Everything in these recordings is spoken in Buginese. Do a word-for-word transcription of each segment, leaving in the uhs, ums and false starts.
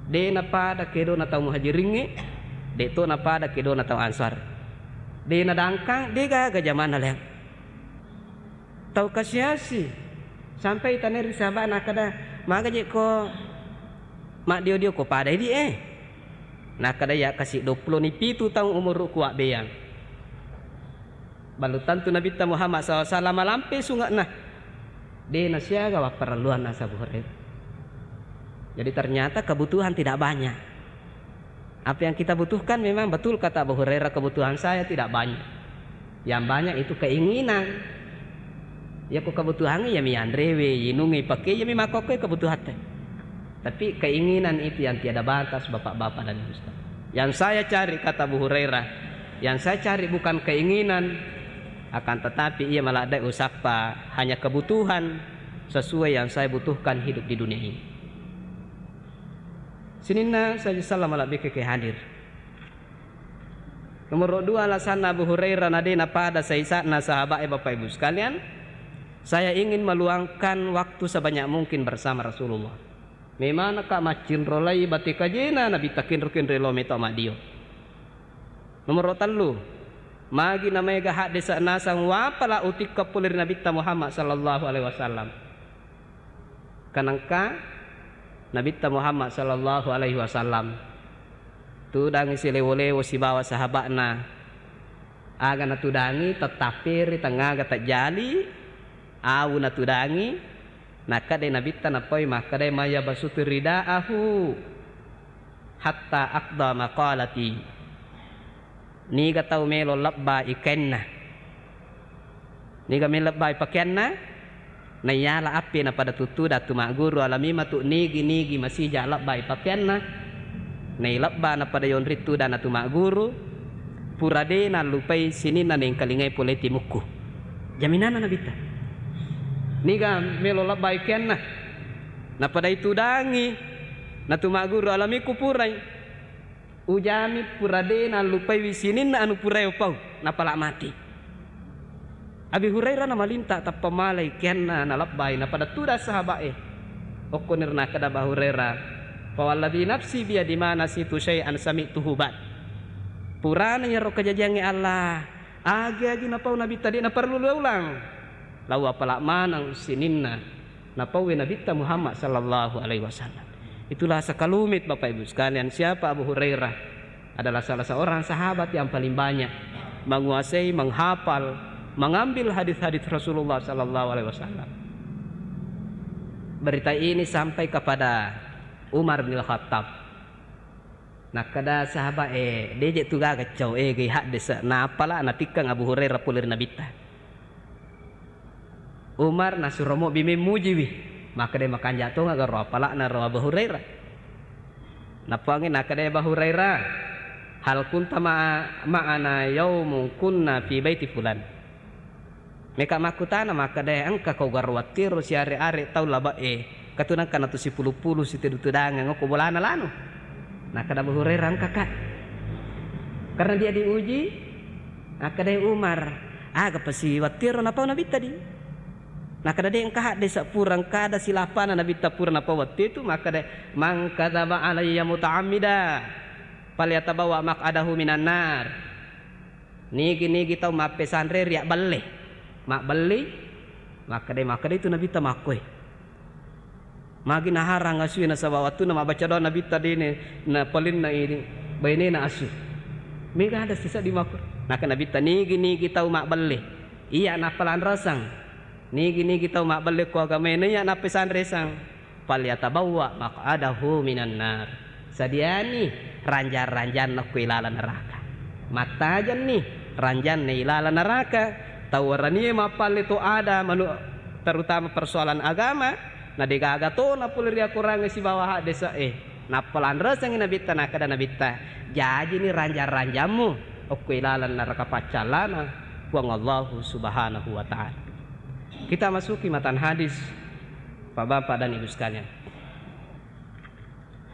De' napada kedona tau Muhajiringnge, de' to napada kedona tau Ansar. De' nadangkang, de' gaga jamanna leang. Tau kasi-asi. Sampai taneri sahaba'na, nakkeda, "Maga je' ko maddio-dio ko pada idi' e?" Nakkeda, "Iya kasi' duappulo ni pitu taung umuru'ku wabbeang." Ballo tantu Nabitta Muhammad sallallahu alaihi wasallam malampe sunge'na. De' nasiaga wapparelluang nasaba Abu Hurairah. Jadi ternyata kebutuhan tidak banyak. Apa yang kita butuhkan memang betul kata Abu Hurairah, "Kebutuhan saya tidak banyak. Yang banyak itu keinginan." Iya ko kebutuhan iya mi anrewe, inungnge, ipake, iya mi makkokkoe kebutuhatta. Tapi keinginan itu yang tiada batas, Bapak-bapak dan Ibu sekalian. Yang saya cari, kata Abu Hurairah, yang saya cari bukan keinginan, akan tetapi iya maladde' usappa, hanya kebutuhan sesuai yang saya butuhkan hidup di dunia ini. Sininna saja salam malebbi ke hadir. Nomor dua alasanna Abu Hurairah na de' napada saisa'na sahaba'e, Bapak Ibu sekalian, "Saya ingin meluangkan waktu sebanyak mungkin bersama Rasulullah." Memang naka maccinrolai bate kajena Nabitta kinro-kinro lo meto maddio. Nomor tellu, magi namaega haddese' nasang wapala utikka pole ri Nabitta Muhammad sallallahu alaihi wasallam. Kanengka Nabitta Muhammad sallallahu alaihi wasallam tudangi silewo-lewo sibawa sahaba'na. Aga natudangi, tettapperi, tengngaga tajjali, awu natudangi, nakkeda Nabitta nappai makkeda, "Mayabsutu ridaahu hatta aqda maqalati." Niga tau melo lebbai kainna, niga melo lebbai pakeanna, naiyala appe napada tuttuda tu magguru, alami matu nigi-nigi masija lebbai pakeanna, nailebba napada yonri tudana tu magguru, pura de' nallupai sininna naengkalingai pole timukku. Jaminanna Nabitta. Niga melo lebbai kainna, napada itudangi natu magguru, alami ku purai. Ujami pura de' nallupaiwi sininna anu purae upau, napala mati. Abi Hurairah namalinta tappa malai keanna nalebbai, napada tudang sahaba'e. Okkoniro nakkeda Abu Hurairah, "Fawalladzi nafsi biyadi ma nasitu syai'an sami'tuhu ba'd." Purana iyaro kajajiangnge Allah, agi-agi napau Nabitta de' naparellu ulang. Lao apala maneng sininna napauwi Nabitta Muhammad sallallahu alaihi wasallam. Itulah sekelumit, Bapak Ibu sekalian, siapa Abu Hurairah adalah salah seorang sahabat yang paling banyak menguasai, menghafal, mengambil hadis-hadis Rasulullah sallallahu alaihi wasallam. Berita ini sampai kepada Umar bin Khattab. Nakkeda sahabat, "Eh, de' je' tu gaga cau, eh, gai haddese'." Napala natikkeng Abu Hurairah pole ri Nabitta. Umar nasuro mobbi memmujiwi. Makkeda, "Makanja' tonga garo apala'na ro Abu Hurairah." Nappuangngi nakkeda Abu Hurairah, "Hal kunta ma'a-, ma'ana yaumun kunna fi baiti fulan?" Meka makkutana makkeda, "Engka kau garo wattiro siare-are tau labe'e, katu nengka natu sipulu-pulu sitedu-tedangeng okko bolana lanu?" Nakkeda Abu Hurairah, "Engka, Kak." Karena dia diuji, nakkeda Umar, "Aga pasi wattiro napau Nabitta di?" Nakkeda, "De' engka haddese' pura, engka ada silapana Nabitta pura napau wattitu." Makkeda, "Man kadzaba alayya muta'ammida, falyatabawwa maq'adahu minan nar." Nigi-nigi tau mappesanre riabballe, mabbelli, makkeda, makkeda itu Nabitta makkoe. Magi naharang asue nasaba wattunna mabbaca doa Nabitta dene napalinna ini bainena asu. Mega ada sisa di makko. Naka Nabitta, "Nigi-nigi tau mabbelle, iya nappa lanrasang. Nigi-nigi tau mabbelle ko agamae na iya nappesanresang, falyatabawwa maq'adahu minan nar." Sadiani ranjang-ranjanna okko ilalang neraka. Mattajenni ranjanna ilalang neraka. Tau waranie mappalle to ada manu-, terutama persoalan agama, na degaga tona pole riakorangnge sibawa haddese'e. Nappa lanresengngi Nabitta, nakkeda Nabitta, "Jajini ranjang-ranjammu okko ilalang neraka paccallana Puang Allahu Subhanahu wa Ta'ala." Kita masuki matan hadis, Pak, Bapak, dan Ibu sekalian.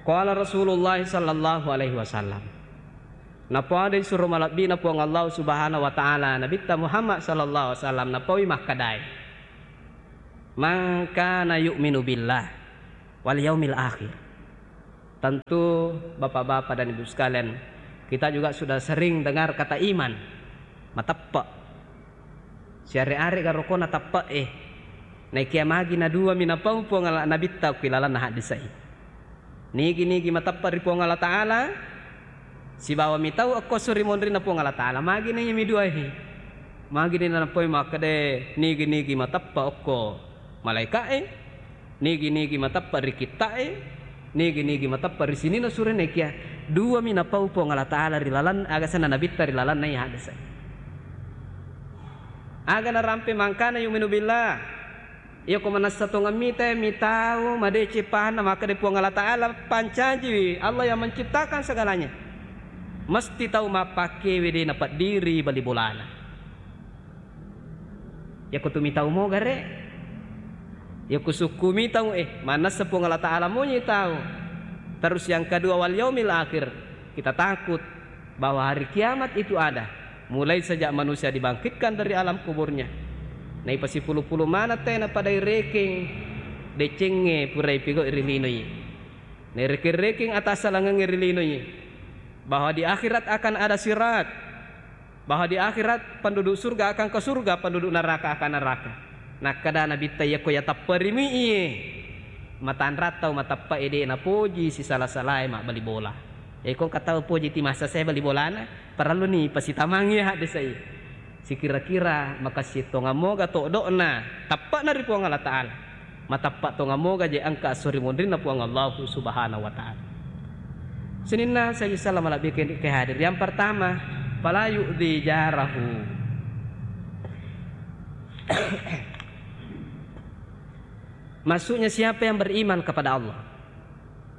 Qala Rasulullah sallallahu alaihi wasallam. Napada isuro malebbina Puang Allah Subhanahu wa Ta'ala, Nabitta Muhammad sallallahu alaihi wasallam, napaui makkedae, "Man kana yu'minu billah wal yaumil akhir, Tentu, Bapak-bapak dan Ibu sekalian, kita juga sudah sering dengar kata iman, mateppe'. Siare-are garokona teppe'e. Naikia magi na dua minapau Puang Allah Nabitta ku ilalanna haddese'i. Nigi-nigi mateppe' ri Puang Allah Ta'ala, sibawa mitau okko esso ri monrinna Puang Allah Ta'ala. Magi na iya mi duae? Magi ni nanappoi makkeda nigi-nigi mateppe' okko malaika'e, nigi-nigi mateppe' ri kitta'e, nigi-nigi mateppe' ri sininna surena, ikia dua minapau Puang Allah Ta'ala ri lalan, aga senna Nabitta ri lalanna iya haddese. Aga narampe mangkana yu'minu billah. Iyako manessa tongeng mita, mitau madeceng pahanna, makkeda Puang Allah Ta'ala pancajiwi, Allah yang menciptakan segalanya. Mesti tau mappakkewe de' napeddiri bali bolana. Iyako tu mitau moga re'. Iyako sukku mitau, eh, manessa Puang Allah Ta'ala monyi tau. Terus yang kedua, wal yaumil akhir. Kita takut bahwa hari kiamat itu ada. Mulai sejak manusia dibangkitkan dari alam kuburnya. Naipasipulu-pulu maneng tena padai rekeng decengnge purai pigau ri linoi. Nairekeng-rekeng atassalangengnge ri linoi. Bahwa di akhirat akan ada sirat. Bahwa di akhirat penduduk surga akan ke surga, penduduk neraka akan neraka. Nakkeda Nabitta, iyako yatepperimu iye, matanrang tau mateppe'e de' napoji sisala-salae mabbali bola. Iyako engka tau poji ti massa sae bali bolana, parelluni pasitamangngi haddese'i. Sikira-kira makessing tongeng moga todo'na teppe'na ri Puang Allah Ta'ala. Mateppe' tongeng moga je engka esso ri monrinna Puang Allahu Subhanahu wa Ta'ala. Sininna saji salama malebbi ke, ke hadir. Yang pertama, fala yu'dzi jarahu. Maksudnya, siapa yang beriman kepada Allah?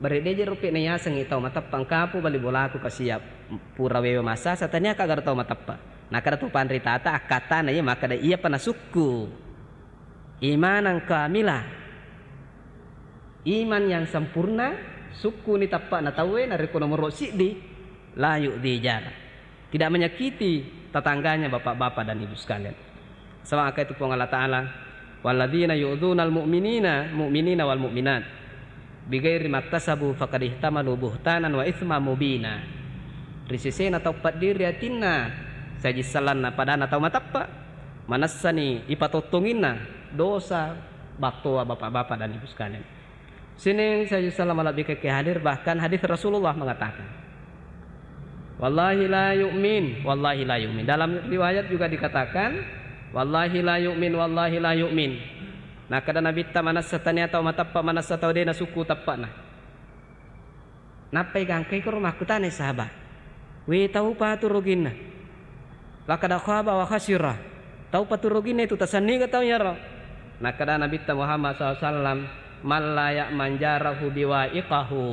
Bare deje rupi nayasengngi tau mateppe' engkapu bali bolaku kasiap pura wewe massasa, tania kagaro tau mateppe'. Nakkeda tu panritata akkattana iya makkeda, iyapa nasukku. Imanan kamila, iman yang sempurna, sukkuni teppe'na tauwe, narekko nomoro siddi, la yu'dzi jara, tidak menyakiti tetangganya, bapak-bapak dan ibu sekalian. Saba' engka itu Puang Allah Ta'ala, walladzina yu'dzunal mu'minina, mu'minina wal mu'minat bighairi maktasabu faqad ihtamalu buhtanan wa itsman mubina. Ri sesena tau peddiri atinna saji sellanna padana tau mateppe', manessani ipatottonginna dosa battoa, bapak-bapak dan ibu sekalian. Sining saji salama malebbi ke hadir, bahkan hadis Rasulullah mengatakan, "Wallahi la yu'min, wallahi la yu'min." Dalam riwayat juga dikatakan, "Wallahi la yu'min, wallahi la yu'min." Nakkeda Nabitta, manessa tania tau mateppe', manessa tau de' nasukku teppe'na. Nappai gangkai koro makkutanai sahaba', "We, taupa tu ruginna? Laqad khaba wa khasira. Taupa tu ruginna itu, tasenniga tau iyaro?" Nakkeda Nabitta Muhammad sallallahu alaihi wasallam, "Man la ya'man jarahu biwa'iqahu."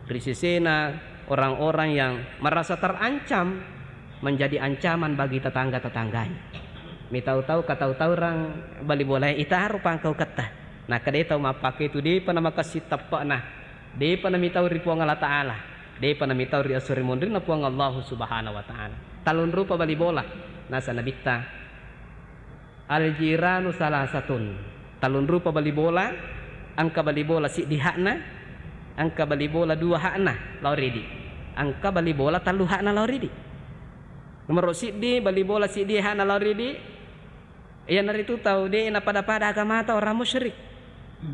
Ri sesena orang-orang yang merasa terancam menjadi ancaman bagi tetangga-tetangganya. Mitau-tau katau-taurang bali bolae, itaro pangkauketta. Nakkeda tau mappake itu de'pa namakessing teppe'na. De'pa namitau ri Puang Allah Ta'ala, de'pa namitau ri esso ri monrinna Puang Allahu Subhanahu wa Ta'ala. Tallung rupa bali bola, nasa Nabitta, "Al-jiranu salasatun." Tallung rupa bali bola, engka bali bola siddi hakna, engka bali bola dua hakna lao ridi, engka bali bola tellu hakna lao ridi. Nomoro siddi, bali bola siddi hakna lao ridi, iyanaritu tau de' napada-pada agamata, orang musyrik.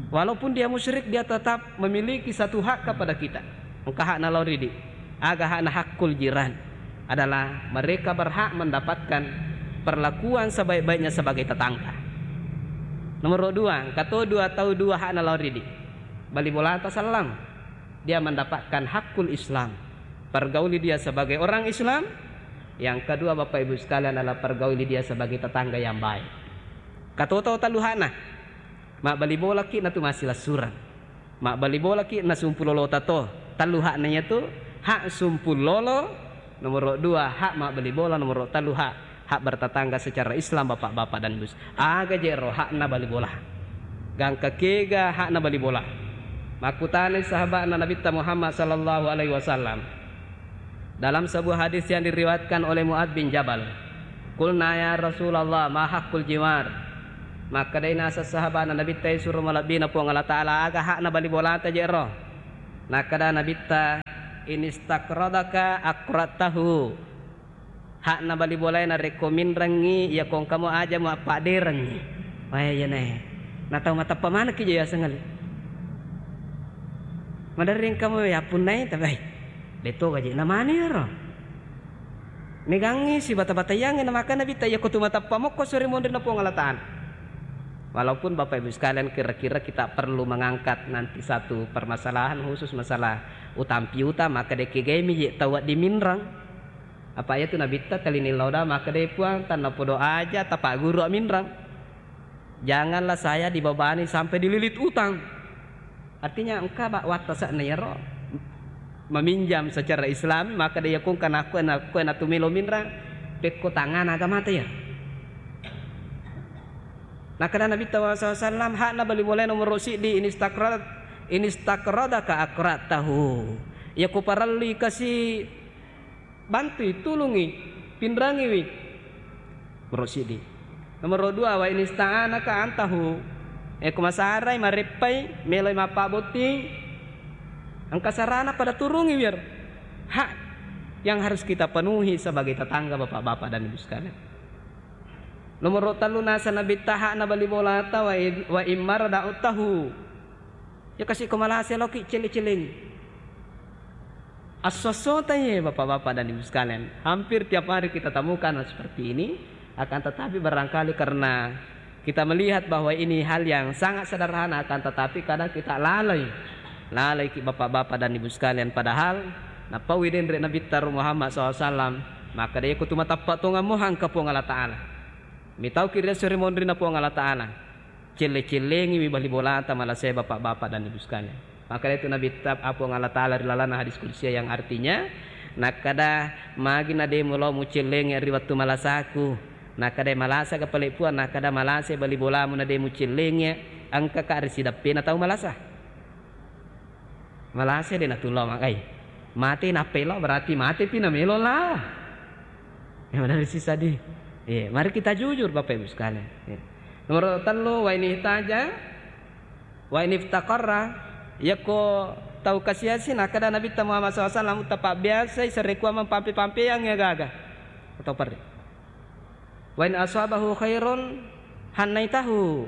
Walaupun dia musyrik, dia tetap memiliki satu hak kepada kita. Engka hakna lao ridi. Aga hakna? Hakul jiran adalah mereka berhak mendapatkan perlakuan sebaik-baiknya sebagai tetangga. Nomoro dua, engka to dua tau dua hakna lao ridi. Bali bolata sellang. Dia mendapatkan hakul Islam. Pergauli dia sebagai orang Islam. Yang kedua, Bapak Ibu sekalian, adalah pergauli dia sebagai tetangga yang baik. Engka to tau tellu hakna. Mabbali bolaki natu massilessureng. Mabbali bolaki nasumpu lolota to. Tellu hakna iyatu, hak sumpu lolo, nomoro dua hak mabbali bola, nomoro tellu hak, hak bertetangga secara Islam, bapak-bapak dan ibu. Aga je ro hakna bali bola? Gangka kega hakna bali bola? Makkutanai sahaba'na Nabitta Muhammad sallallahu alaihi wasallam. Dalam sebuah hadis yang diriwayatkan oleh Mu'adz bin Jabal, "Qulna ya Rasulullah, ma haqqul jiwar?" Makkedai naseng sahaba'na Nabitta, "Suro malebbina Puang Allah Ta'ala, aga hakna bali bolata je ro?" Nakkeda Nabitta, "In istaqradaka aqradtahu." Hakna bali bolae narekko minrengngi, iya ko engka mo aja muappadderengngi. Wae, iyanae. Na tau mateppa manekki je yaseng ale. Maderri engka mo yappunnai, tabai. De'to gaji namani ero. Megangngi sibata-bataiyangngi, na maka Nabitta, iya ko tu mateppa mokko sori monrinna Puang Allah Ta'ala. Walaupun Bapak Ibu sekalian, kira-kira kita perlu mengangkat nanti satu permasalahan khusus masalah utang piutang, maka de kegaimi je tau wedding minreng. Apa iya tu Nabitta, telini lauda, maka de Puang, tanna podo aja tapagguru minreng. Janganlah saya dibebani sampai dililit utang. Artinya engka ba-, wattase'na iyaro meminjam secara Islami, maka de yakung kana kue na, kue na tumelo minreng, pekko tangana agamata iya. Nakkeda Nabitta sallallahu alaihi wasallam, hakna bali bolae nomoro siddi, "In istaqrad-, in istaqradaka aqradtahu." Iya ko parellui kasi bantui, tulungi, pinrangiwi. Nomoro siddi. Nomoro dua, "Wa in ista'anaka a'antahu." Eh, ko masarai, mareppai, meloi mappabotting, engka sarana pada turungi wir. Hak yang harus kita penuhi sebagai tetangga, Bapak-bapak dan Ibu sekalian. Nomoro tellu, nasa Nabitta hakna bali bolata, "Wa in, wa in marada a'udtahu." Ya kasi ko malase loki celle-celleng. Asso-assota ye, Bapak-bapak dan Ibu sekalian, hampir tiap hari kita temukan hal seperti ini. Akan tetapi, barangkali karena kita melihat bahwa ini hal yang sangat sederhana, akan tetapi kadang kita lalai. Lalai ki, Bapak-bapak dan Ibu sekalian, padahal nappaui denre Nabitta ro Muhammad sallallahu alaihi wasallam, maka de ko tu matappa tonga mohang ka Puang Allah Ta'ala. Mitau ki riasso ri monrinna Puang Allah Ta'ala. Celle-cellengiwi bali bolata malase, Bapak-bapak dan Ibu sekalian. Maka itu Nabitta, Puang Allah Ta'ala ri lalana hadis qudsi yang artinya, nakkeda, "Magi na de mulo mucellengi ri wettu malasaku?" Nakkeda, "Malasa ga pale Puang?" Nakkeda, "Malasa bali bolamu na de mucellengi, engka ka ri sideppena tau malasa." Malasa de natulao magai. Mate nappa lao, berarti mate pi namelo lao. Ya, benar sih tadi. Iya, mari kita jujur, Bapak Ibu sekalian. Iya. Nomor tellu, "Wa in ihtaja, wa in iftaqarra." Yakko tau kasiasi, nakkeda Nabitta Muhammad sallallahu alaihi wasallam, tapabbiasai sarekkuamang pampe-pampeang ya gaga. Atau perri. "Wa in asabahu khairun hannaitahu."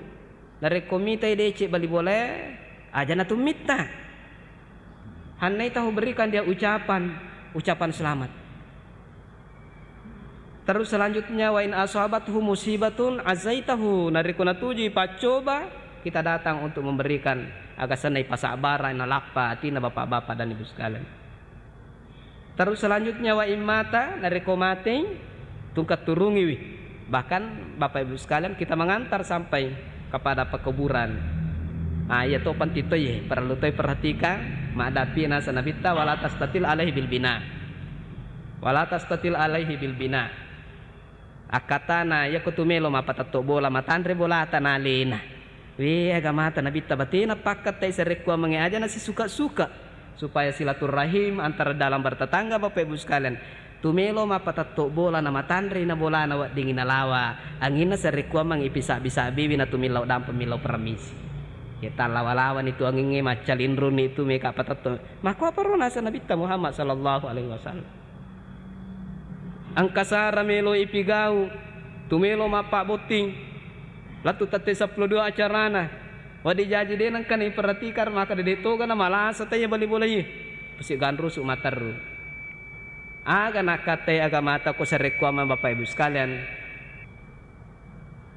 Narekko mitai deceng bali bolae, aja natummitta. Hannaitahu, berikan dia ucapan, ucapan selamat. Terus selanjutnya, "Wa in asabathu musibatun azaitahu." Narekko natujui paccoba, kita datang untuk memberikan, aga senna ipasabbarang, nalappa atina, Bapak-bapak dan Ibu sekalian. Terus selanjutnya, "Wa in mata," narekko matei, tungka turungiwi. Bahkan, Bapak Ibu sekalian, kita mengantar sampai kepada pekuburan. Ah, iya to, penting to ye, perlu to perhatikan, maddapi nasa Nabitta, "Wala tastatil alaihi bil bina." "Wala tastatil alaihi bil bina." Akkatana, iya ko tumelo mappatetto bola, matanre bolata nalena. We, agamata Nabitta batena pakkattai sarekkuammengnge, aja nasisuka-suka, supaya silaturrahim antara dalam bertetangga, Bapak Ibu sekalian. Tumelo mappatetto bola, namatanrei na bolana, weddingngi nalawa anginna sarekkuammeng ipisabbi-sabbiwi, natumillau dampe, millau permisi. Ya, tallawa-lawani tu angingnge, maccalinrunni tu meka patetto. Makkuaparo nasa Nabitta Muhammad sallallahu alaihi wasallam. Engka sara melo ipigau, tumelo mappabbotting, lettu tette seppulo dua acarana. Wedding jaji de nengka naiperhatikan, maka de toga na malasa taiya bali bola iye. Pasi ganrusu materru. Aga nakkatai agamata ko sarekkuameng, Bapak Ibu sekalian.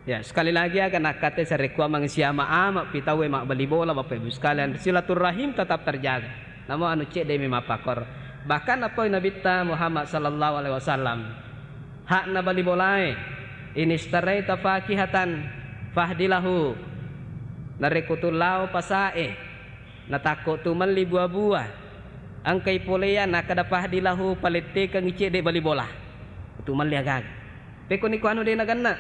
Ya, sekali lagi, aga nakkatai sarekkuameng siama-ama pi tauwe mabbali bola, Bapak Ibu sekalian, silaturrahim tetap terjaga. Namo anu cedde mi mappakor. Bahkan napoi Nabitta Muhammad sallallahu alaihi wasallam, hakna bali bolae, "In istaraita fakihatan fahdilahu." Narekko tu lao pasae, natakko tu melli bua-bua, engkai poleang, nakkeda, "Fahdilahu, palettekengngi cedde bali bola." Tu melli aga-aga. Pekko niko anu de nagenna.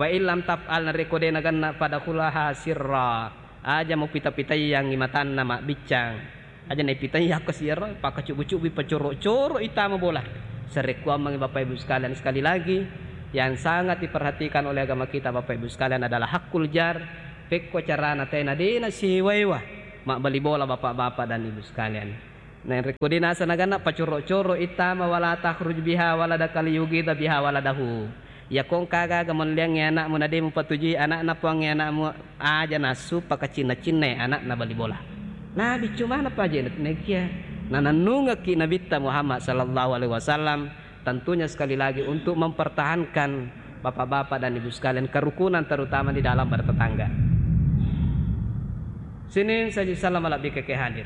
"Wa illam taf'al," narekko de nagenna, "fadkhulaha sirra." Aja mupita-pitaiyangngi matanna mabbiccang. Aja naipitaiya ko siro, pakacubbu-cubbu, pacoro-coro itama bola. Sarekkuammengngi, Bapak Ibu sekalian, sekali lagi, yang sangat diperhatikan oleh agama kita, Bapak Ibu sekalian, adalah hakul jar. Pekko carana tena de nasiwa-ewa. mabbali bola, Bapak-bapak dan Ibu sekalian. Nah, rekko de' naseng naganna, pacoro-coro ittama, "Wala takhruj biha waladaka liyughidha biha waladahu." Iyako engka aga-aga melliangngi anakmu na de' mupatujui anakna puangnge anakmu, aja nassu pakacinna-cinnai anakna bali bola. Nah, biccu maneng paje' naikia nanennungekki Nabitta Muhammad sallallahu alaihi wasallam, tentunya sekali lagi untuk mempertahankan bapak-bapak dan ibu sekalian kerukunan, terutama di dalam bertetangga. Sini saji salam lebih ke hadir.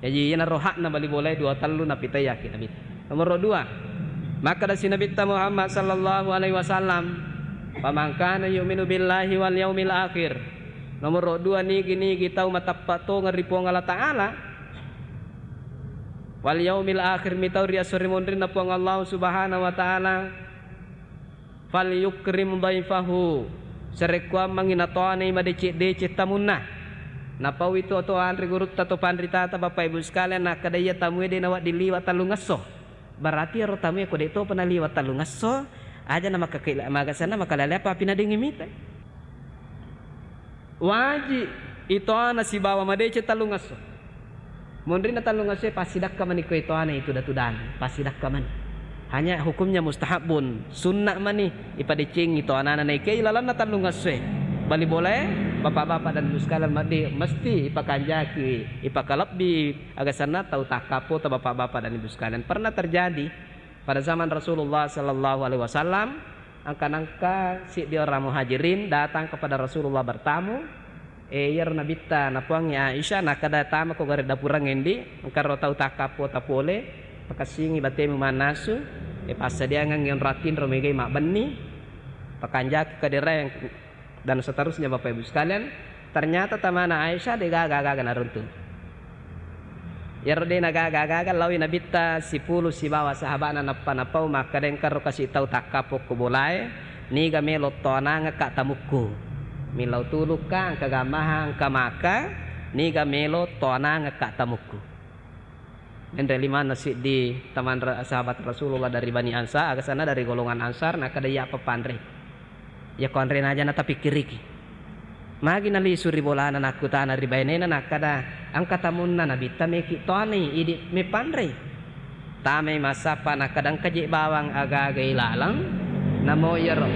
Jaji, iyanaro hakna bali bolae dua tellu napitaiaki Nabitta. Nomoro dua, makkedasi Nabitta Muhammad sallallahu alaihi wasallam, "Faman kana yu'minu billahi wal yaumil akhir." Nomoro dua, nigi-nigi tau mateppa tongeng ri Puang Allah Ta'ala, wal yaumil akhir, mitau ri esso ri monrinna Puang Allah Subhanahu wa Ta'ala, "Falyukrim dhaifahu." Sarekkuammengngi natoanai madeceng-deceng tamunna. Napaui to, to anre gurutta, to panritata, Bapak Ibu sekalian, nakkeda iya tamue de' nawedding liwa tellungesso. Berarti ero tamue ko de' topa naliwa tellungesso, aja na makakila-, magasenna makalale apa api nadengngi mitai. Waji itoana sibawa madeceng tellungesso. Monrinna tellungesso e passidakka mani ko itoana itu datudan, passidakka mani. Hanya hukumnya mustahabbun, sunna mani ipadecengi toanana naikia ilalenna tellungesso e. Bali bolae, bapak-bapak dan ibu sekalian, maddi mesti ipakanjaki, ipakalebbi agasanna tau takkappota, bapak-bapak dan ibu sekalian. Pernah terjadi pada zaman Rasulullah sallallahu alaihi wasallam, engka nengka siddi orang muhajirin datang kepada Rasulullah bertamu. E, iyaro Nabitta napuangngi Aisyah, nakkeda, "Tamako gare dapureng endi, engka ro tau takkappo tapole, pakessingi batemu mannasu, e, passadiangengngi onrang tinro megai mabbenni, pakanjaki kaderaeng, dan seterusnya, Bapak Ibu sekalian." Ternyata tamana Aisyah de' gaga-gaga naruntu. Iyaro de' nagaga-gaga, laoi Nabitta sipulung sibawa sahaba'na nappa napau makkeda, "Engkaro kasi tau takkappo ko bolae, niga melo toanangekka tamukku. Millau tulukka, engka gamaha, engka maka, niga melo toanangekka tamukku." Menre limanna siddi tamanra-, sahabat Rasulullah dari Bani Ansar, agasanna dari golongan Ansar, nakkeda, "Iyapa panre." Iyako anrena aja natapikkiriki. Magi nalisu ri bolana, nakkutana ri bainena, nakkeda, "Engka tamunna Nabitta meki toani idi meppanrei." Tamai massappa, nakkeda, "Engka je bawang aga-aga ilaleng, namo iyaro,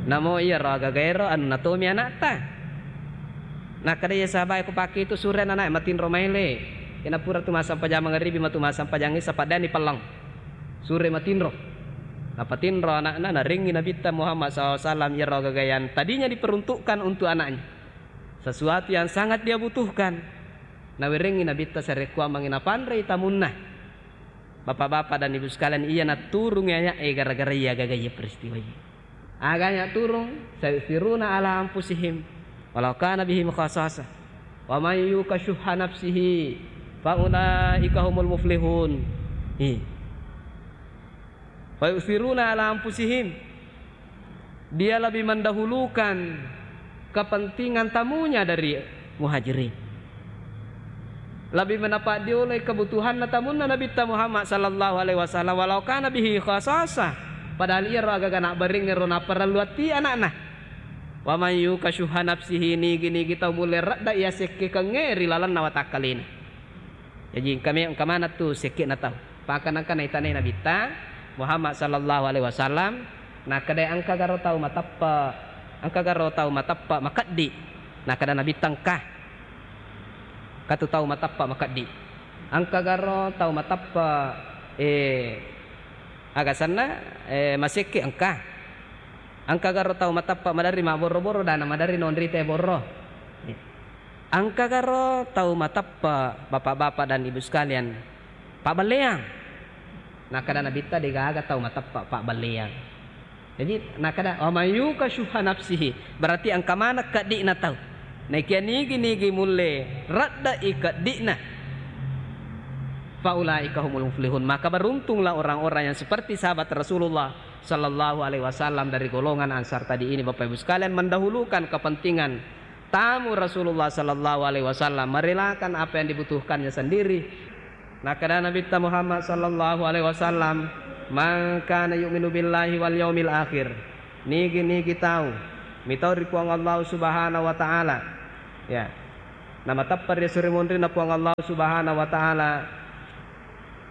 namo iyaro aga-aga ero anunna tomi anakta." Nakkeda iya sahabae, "Ko pakke itu sure ananae matinro maele. Iyana pura tu massempajang mangaribi, matu massempajang isa, paddani pelleng." Sure matinro. Napatinro anakna, narengngi Nabitta Muhammad sallallahu alaihi wasallam iyaro aga-aga yang tadinya diperuntukkan untuk anaknya. Sesuatu yang sangat dia butuhkan. Nawerengngi Nabitta sarekkuammengngi napanrei tamunna. Bapak-bapak dan ibu sekalian, iya naturungi aya'e gara-gara iya aga-aga iya peristiwa iya. Aganya turung, "Sayusiruna ala anfusihim walau kana bihim khasasah. Wa man yuqa syuhha nafsihi fa ulaika humul muflihun." Hi. "Fayusiruna ala anfusihim." Dia lebih mendahulukan kepentingan tamunya dari muhajirin. Lebih menapa diolai kebutuhanna tamunna Nabitta Muhammad sallallahu alaihi wasallam, walau kana bihi khasasah. Padahal iyaro aga-aga nabbaring ero naparellu ati anakna. "Wa man yuqa syuhha nafsihi," nigi-nigi tau mulle radda iya sekkekengnge ri lalenna watakkalena. Jaji engka me-, engka maneng tu sekke'na tau. Paka nengka naitanai Nabitta Muhammad sallallahu alaihi wasallam, nakkeda, "Engka garo tau mateppe, engka garo tau mateppe makeddi?" Nakkeda Nabitta, "Engka." Engka tu tau mateppe makeddi. "Engka garo tau mateppe, eh, agasanna, eh, masekke?" "Engka." "Engka garo tau mateppe maderri mabborro-borro, dana maderri nonrite borro?" Engka garo tau mateppe, bapak-bapak dan ibu sekalian, pabbelleang? Nakkeda Nabitta, "Degaga tau mateppe pabbelleang." Jaji nakkeda, "Wa man yuqa syuhha nafsihi," berarti engka maneng keddi'na tau. Naikia nigi-nigi mulle radda'i keddi'na, "fa ulaika humul muflihun," maka beruntunglah orang-orang yang seperti sahabat Rasulullah sallallahu alaihi wasallam dari golongan Ansar tadi ini, Bapak Ibu sekalian, mendahulukan kepentingan tamu Rasulullah sallallahu alaihi wasallam, merelakan apa yang dibutuhkannya sendiri. Nakkeda Nabitta Muhammad sallallahu alaihi wasallam, "Man kana yu'minu billahi wal yaumil akhir," nigi-nigi tau mitau ri Puang Allah Subhanahu wa Ta'ala, Ya. Namateppe ri esso ri munrinna Puang Allah Subhanahu wa Ta'ala,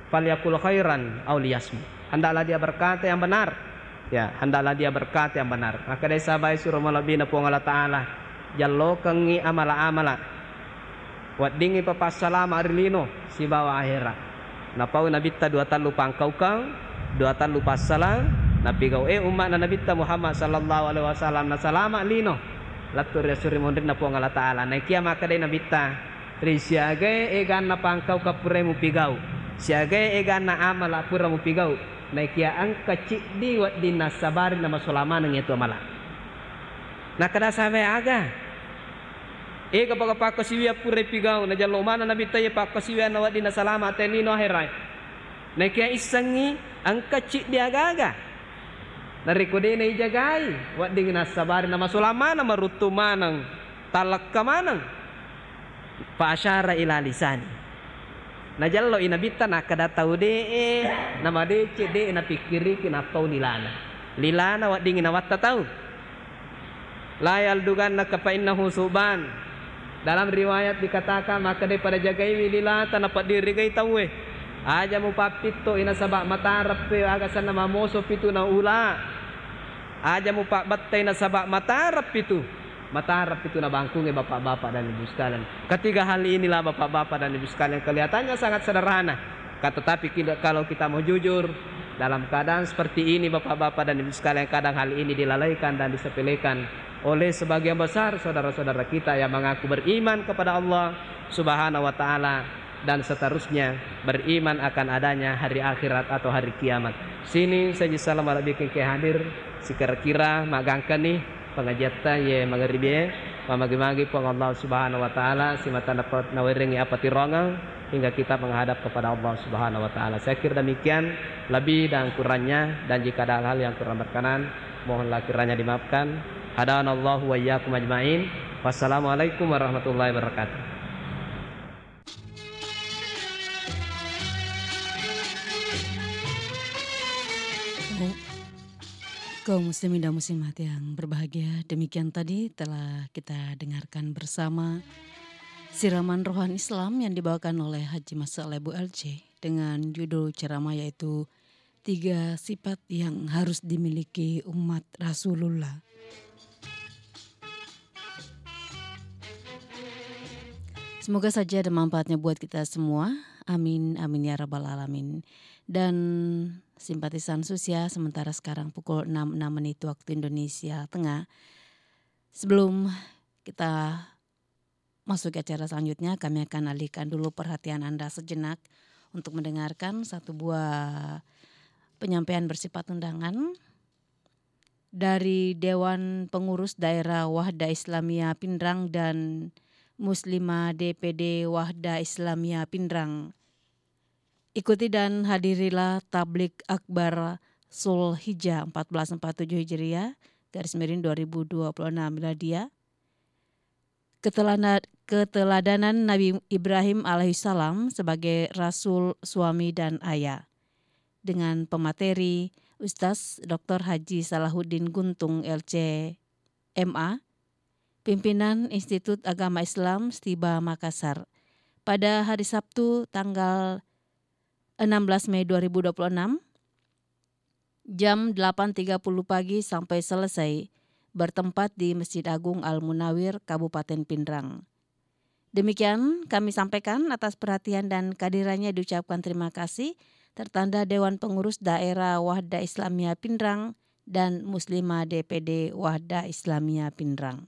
"Falyakul khairan aw liyasmut." Hendaklah dia berkata yang benar. Ya, hendaklah dia berkata yang benar. Makkedai sahabai suro malebbina Puang Allah Ta'ala, jallokengngi amala-amala. Weddingngi papassalama ri lino sibawa ahera. Napaui Nabitta dua tallu pangkaukeng, dua tallu passalang, napigau e umma'na Nabitta Muhammad sallallahu alaihi wasallam, nasalama lino lettu ri esso ri munrinna Puang Allah Ta'ala. Naikia makkedai Nabitta, ri siagae eganna pangkaukeng pura mupigau, siagae eganna amala pura mupigau, naikia engka ciddi wedding nassabari namasola maneng iyatu amala. Nakkeda sahabae, aga? Ega paga pakkasiwiang pura ipigau, najallo maneng Nabitta iye pakkasiwianna wedding nasalama te lino aherae. Naikia issengngi engka ciddi aga-aga. Narekko de naijagai, wedding nassabari namasola maneng, maruttu maneng, tallekka maneng. Fa asyara ila lisani. Najallo i Nabitta nakkeda tau de'e, namadeceng de'e napikkiriki nappau lilana. Lilana weddingngi nawatta tau. La yaldugannaka fa innahu suban. Dalam riwayat dikatakan, makkedai pada jagaiwi lilata napeddirigai tauwe. Aja mupappitto i nasaba matareppi aga senna mamoso pitu na ula. Aja mupabbattai nasaba matareppi tu. Matareppi tu nabangkungnge bapak-bapak dan ibu sekalian. Ketiga hal inilah bapak-bapak dan ibu sekalian kelihatannya sangat sederhana. Ka-, tetapi kita, kalau kita mau jujur, dalam keadaan seperti ini, bapak-bapak dan ibu sekalian, kadang hal ini dilalaikan dan disepelekan oleh sebagian besar saudara-saudara kita yang mengaku beriman kepada Allah Subhanahu wa Ta'ala dan seterusnya, beriman akan adanya hari akhirat atau hari kiamat. Sini saja salam ala bikin ke hadir, sekira-kira magangkani pengajiatta ye magaribie, mamagi-magi Puang Allah Subhanahu wa Ta'ala, simata dapat nawerengi apa tirongang, hingga kita menghadap kepada Allah Subhanahu wa Ta'ala. Saya kira demikian, lebih dan kurangnya, dan jika ada hal-hal yang kurang berkenan, mohonlah kiranya dimaafkan. Hadanallahu wa iyyakum ajmain. Wassalamualaikum warahmatullahi wabarakatuh. Kaum muslimin dan muslimat yang berbahagia, demikian tadi telah kita dengarkan bersama siraman rohani Islam yang dibawakan oleh Haji Masuk Lebu L C dengan judul ceramah yaitu tiga sifat yang harus dimiliki umat Rasulullah. Semoga saja ada manfaatnya buat kita semua. Amin, amin ya rabbal alamin. Dan simpatisan Sus ya, sementara sekarang pukul enam enam menit waktu Indonesia Tengah. Sebelum kita masuk ke acara selanjutnya, kami akan alihkan dulu perhatian Anda sejenak untuk mendengarkan satu buah penyampaian bersifat undangan dari Dewan Pengurus Daerah Wahda Islamiyah Pinrang dan Muslimah D P D Wahda Islamiyah Pinrang. Ikuti dan hadirilah Tablik Akbar Zulhijjah empat belas empat tujuh Hijriah, garis miring dua ribu dua puluh enam Miladiah, ketelana-, keteladanan Nabi Ibrahim alaihissalam sebagai rasul, suami, dan ayah, dengan pemateri Ustaz Doktor Haji Salahuddin Guntung, L C M A, pimpinan Institut Agama Islam Stiba Makassar, pada hari Sabtu tanggal enam belas Mei dua ribu dua puluh enam, jam delapan tiga puluh pagi sampai selesai, bertempat di Masjid Agung Al Munawir, Kabupaten Pinrang. Demikian kami sampaikan, atas perhatian dan kehadirannya diucapkan terima kasih, tertanda Dewan Pengurus Daerah Wahda Islamiyah Pinrang dan Muslimah D P D Wahda Islamiyah Pinrang.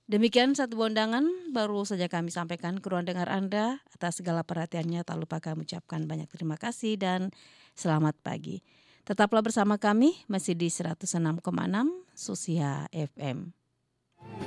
Demikian satu bondangan baru saja kami sampaikan ke ruang dengar Anda. Atas segala perhatiannya, tak lupa kami ucapkan banyak terima kasih dan selamat pagi. Tetaplah bersama kami, masih di seratus enam koma enam Susia F M.